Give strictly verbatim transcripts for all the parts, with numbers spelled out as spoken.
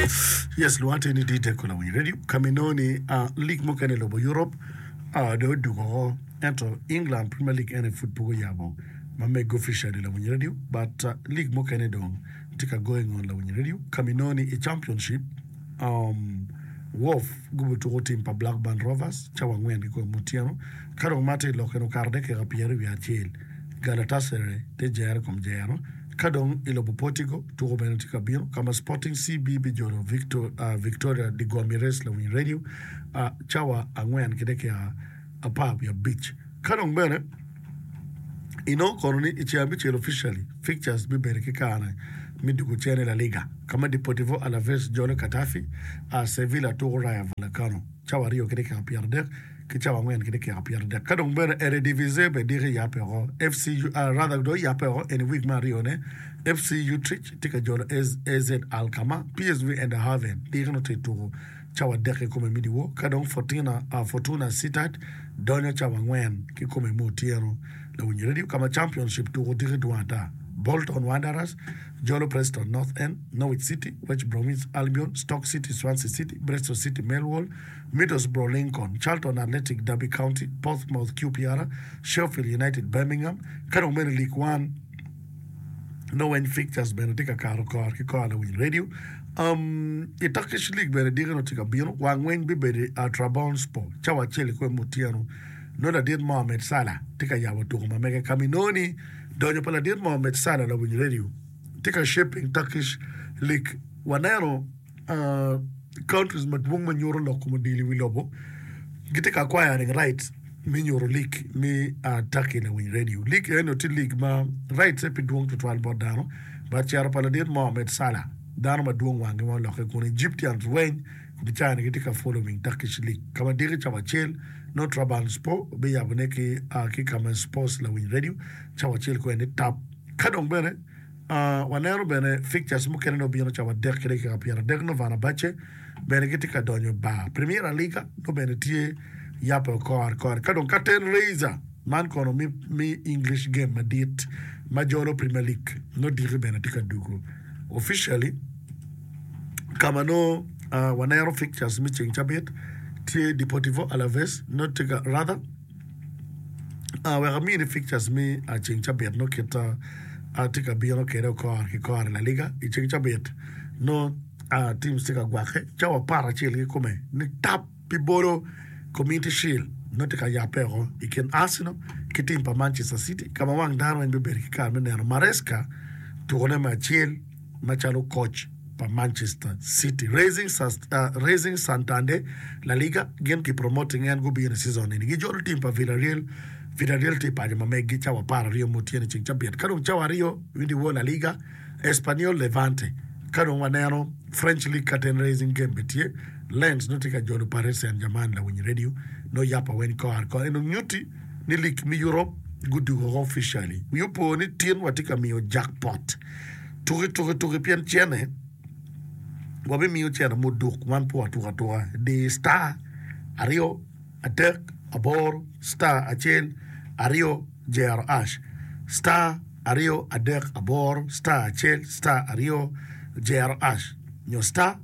Yes, lwonga tye ni D Deco lawiny radio ka ma inongo ni ah, league mukene i lobo Europe ah, dong odugo oko ento England Premier League ene pud pe guyabo ma mego officially lawiny radio but ah, league mukene dong tye ka goyo ngon lawiny radio ka ma inongo ni i championship um, Wolf gubutuko tim pa Blackburn Rovers cawa angwen ki kome otyeno ka dong ma tye i lok eni okato dakika pyeraryo wiye acel Galatasaray tye jero i kom jero ka dong i lobo Portugal tuko bene tye ka bino ka ma Sporting C B bijolo Victor, uh, Victoria de Guimaraes lawiny radio uh, cawa angwen ki dakika apar wiye abic ka dong bene inongo kono ni i ceng abicel officially fixtures bibedo ki kare me dugo cen i La Liga ka ma Deportivo Alaves jolo Getafe uh, Sevilla tuko Rayo Vallecano cawa aryo ki dakika pyeradek ki cawa angwen ki dakika pyeradek ka dong bene Eredivisie bene diki yape oko F C uh, rather dong yape oko eni week me aryone F C Utrecht tye ka jolo A Z Alkmaar P S V Eindhoven diki no tye tuko cawa adek ki kome me dyewor ka dong Fortuna, uh, Fortuna Sittard donyo cawa angwen ki kome me otyeno lawiny radio ka ma championship tuko diki dwong ata Bolton Wanderers jolo Preston North End, Norwich City, West Bromwich Albion, Stoke City, Swansea City, Bristol City, Millwall, Middlesbrough Lincoln, Charlton Athletic, Derby County, Portsmouth Q P R, Sheffield United, Birmingham ka dong bene League One no weny fixtures bene tye ka kato kor ki kor lawiny radio um, i Turkish League bene diki no tye ka bino wang weny bibedo i uh, Trabzonspor cawa acel i kome otyeno no ladit Mohamed Salah tye ka yabo tuko ma mege ka ma inongo ni donyo pa ladit Mohamed Salah lawiny radio tye ka shaping Turkish League waneno uh, countries madwong ma nyuto lok kom odilo i wi lobo gitye ka acquiring rights me nyuto league me uh, Turkey lawiny radio league eno tye league ma rights pi dwong tutwal bot dano but cero pa ladit Mohamed Salah dano madwong wangi ma oloke kun Egyptians weny bicani gitye ka following Turkish League ka ma diki cawa acel no Trabzonspor biyabone ki uh, ki Kamen Sports lawiny radio cawa acel kweni tap ka dong bene uh, waneno bene fixtures mukene no bino cawa adek ki dakika pyeradek no Fenerbahce bene gitye ka donyo bar Premier Liga no bene tye yape kor kor ka dong curtain raiser man kono mi, mi English game madit ma jolo Premier League no diki bene tye ka dugo officially kama no uh, waneno fixtures mi ceng cabit tye Deportivo Alaves no tye ka rather uh, wek amini fixtures mi uh, ceng cabit no kita uh, tye ka bino kede kor ki kor i La Liga i ceng cabit no uh, teams tye ka gwake cawa apar acel ki kome ni tap pi bolo Community Shield no tye ka yape oko i kin Arsenal ki team pa Manchester City ka ma wang dano weng bibedo ki kare me neno Maresca tukone me acel macalo coach pa Manchester City Racing, uh, Racing Santander La Liga gin ki promoting en gubino i season ni gijolo team pa Villarreal Villarreal tye paco ma meggi cawa apar aryo mutyeno i ceng cabit ka dong cawa aryo winjo wo La Liga Espanyol Levante ka dong waneno French League curtain raising game be tye Lens no tye ka jolo Paris Saint-Germain lawiny radio no yapa wen kor kor eno nyuti ni league mi Europe gudugo officially wi opo ni tin watye ka miyo jackpot tuki tuki tuki pien cene wabimiyo cene muduk wan pe watuko atuka di star aryo adek aboro star acel aryo jero hash star aryo adek aboro star acel star aryo jero hash nyo star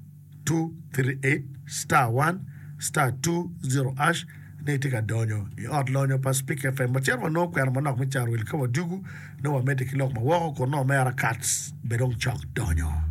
two three eight star one star two zero hash ni tye ka donyo i ot lonyo pa Speak F M wacito wanongo kwena manok me caro wil ka wadugu nongo wamedde ki lok ma woko kun nongo omera Kats be dong cok donyo.